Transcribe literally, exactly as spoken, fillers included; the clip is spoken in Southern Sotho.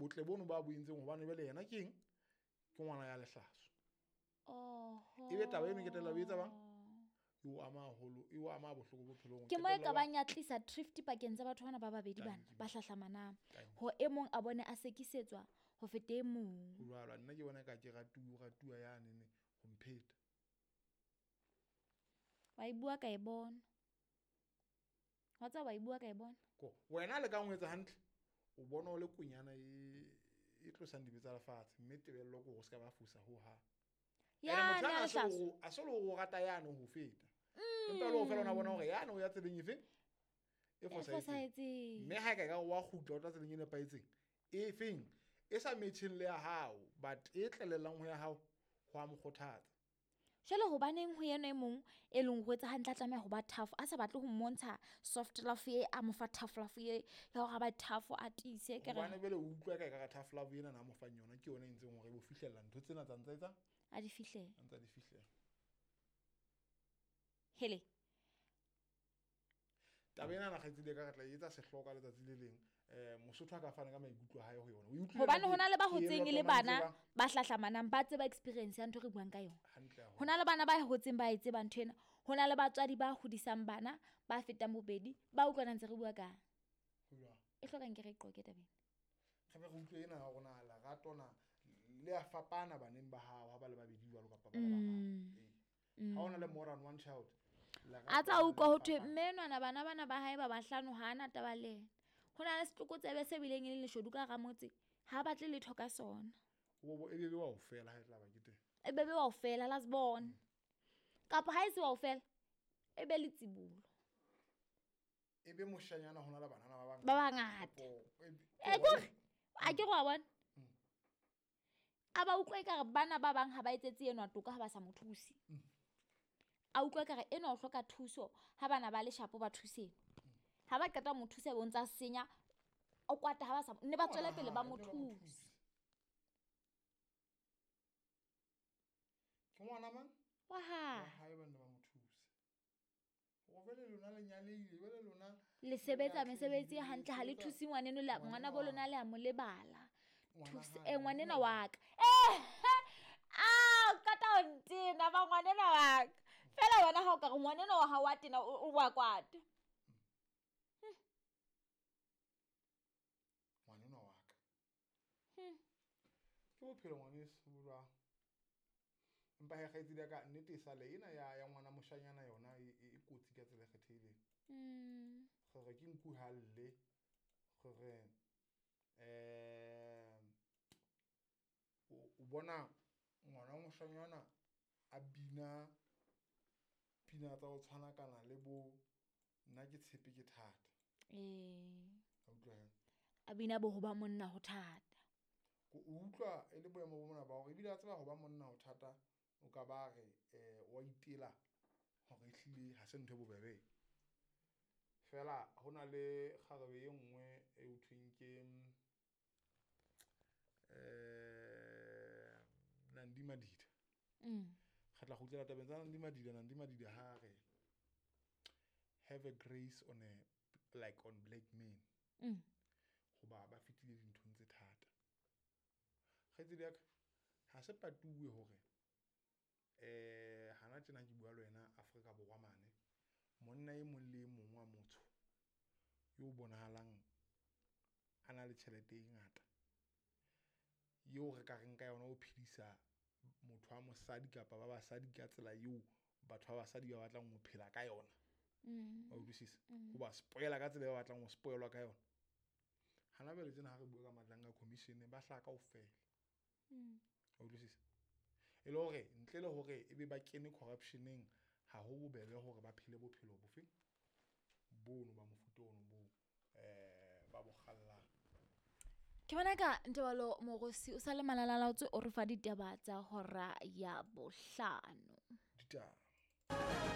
botle bono ba bo entseng hobane jwale yena ke eng ke ngwana ya lehlaso. Oho. Ebe taba eno ke tella o etsa bang e o ama haholo, e o ama bohloko bophelong. Ke mo e Qetella ka wa- bang ya tlisa drift pakeng tsa batho bana ba babedi bana Thank you. ba hlahlamanang. Thank you. Ho e mong a bone a sekisetswa ho feta e mong. Ho jwalo, nna ke bona ka ke ratuwa, ratuwa yane ho mpheta. Wa e bua ka e bona. Wa tseba wa e bua ka e bona. Ko wena le ka ho etsa hantle, o bona o le konyana e e tlosang dibe tsa lefatshe, mme tebello ke hore o se ka ba fosa ho hang. Ya, Ene motho ne a ana a se lehlaso. o- a se le o rata yane ho feta. Empa le ho fela ona bona hore yane o ya tseleng efe? E E fosahetseng. fosahetseng. Mme ha e ka ekare wa kgutla o tla tseleng e nepahetseng, e feng? E sa metjheng le ya hao, but e tlelelang ho ya hao, ho a mo kgothatsa. Jwale hobaneng ho yena e mong e leng ho etsa hantle a tlameha ho ba tough, a sa batle ho mmontsha soft love e a mo fa tough love e ya hore a ba tough a tiise ke re. Hobane jwale o utlwa ka ekare tough love ena na mo fang yona ke yona e entseng hore e bo fihlella ntho tsena tsa ntsa etsang? A di fihlele. A ntsa di fihlela. Hele. Taba ena na kgaitsedi ya ka re tla e etsa sehlooho ka letsatsi le leng. Eh, Mosotho a ka fana ka maikutlo a hae ho yona. O e utlwile Hobane nna ho na le ba ke- ke hotseng e le elwa bana tseba. ba hlahlamanang ba tseba experience ya ntho e re buang ka yona. Hantle haholo. Ho na le bana ba hotseng ba e tseba ntho ena. Ho na le batswadi ba hodisang bana ba fetang bobedi ba utlwana ntse re bua ka. Ho jwang? E hlokang ke re qoke tabeng. Re be re utlwe ena ya hore na lerato na le a fapana baneng ba hao ha ba le babedi jwalo kapa ba le bararo. Mm. Ee. Ha hona le more than one child, lerato A tsa le utlwa ho thwe fapana. mme enwana bana bana ba hae ba bahlano ha ana taba le yena. Ho na le setlokotsebe se bileng e leng leshodu ka hara motse, ha batle letho ka sona. O bo, e be be wa ho fela ha e tla ba ke teng. E be be wa ho fela last born. Kapa ha e se wa ho fela, e be letsibolo. E be moshanyana hona le banana ba bangata. Ba bangata. Kapo, e be- E kore, a ke re wa bona? A ba utlwa ekare bana ba bang ha ba etsetse enwa toka ha ba sa mo thuse. A utlwa ekare enwa o hloka thuso ha bana ba le shapo ba thuse enwa. Ha ba qeta ho mo thusa bo ntsa senya, o kwata ha ba sa ne ba tswele pele ba mo Ngwana hae, ne ba mo thuse. thuse. Ke ngwana mang? Wa hae. Wa hae ba ne ba mo thuse. Hore jwale lona le nyalehile, jwale lona Le sebetsa le mesebetsi e atlehile, hantle, ha le sebetsa thuse ngwaneno le ngwaneno ngwana bo wa lona le a mo lebala. Ngwana Thuse, hae, eh, ngwaneno ngwaneno wa ka. Eh, ah, qeta ho ntena ba ngwaneno wa ka. Fela wena ha o ka re ngwaneno wa hao wa tena, o, o wa kwata. Ngwaneno wa ka. Hmm. Ke bophelo ngwaneso bo jwang? Empa he kgaitsedi ya ka nnete e sale ena ya, ya ngwana moshanyana yona e, e, e kotsi ka tsela e kgethehileng. Hmm. Gore ke nku ha lle, gore, eh, o, o bona ngwana moshanyana a bina pina tsa ho tshwana kana le bo nna ke tshepe ke thata. Eh. A utlwa he? A bina bo ho ba monna ho thata. Ko o utlwa e le boemo bo mona ba hore ebile a tseba ho ba monna ho thata, o ka ba re, eh, wa itela hore ehlile ha se ntho e bobebe. Fela ho na le kgarebe e nngwe e ho thweng ke, eh, Nandi Madida. Mm. Re tla kgutlela tabeng tsa Nandi Madida. Nandi Madida ha re have a grace on a, like on black men. Mm. Hoba ba fetile dinthong tse thata. Kgaitsedi ya ka, ha se patuwe hore, eh, hana tjena ke bua le wena Afrika Borwa mane, monna e mong le e mong wa motho yo bonahalang a na le tjhelete e ngata, eo re ka reng ka yona o phedisa motho wa mosadi kapa ba basadi ka tsela eo batho ba basadi ba batlang ho phela ka yona. Mm. Wa utlwisisa? Mm. Ho ba spoiler ka tsela e ba batlang ho spoilwa ka yona. Hana jwale tjena ha re bua ka Madlanga Commission ba hlaha kaofela. Mm. Wa utlwisisa? E le hore ntle le hore ebe ba kene corruption-eng, ha ho bobebe hore ba phele bophelo bofe bono ba mofuta ono bo, eh, ba bo kgallang. Ke bona ka Ntebalo Morosi o sa le malalalaotswe o re fa ditaba tsa hora ya bohlano. Ditaba.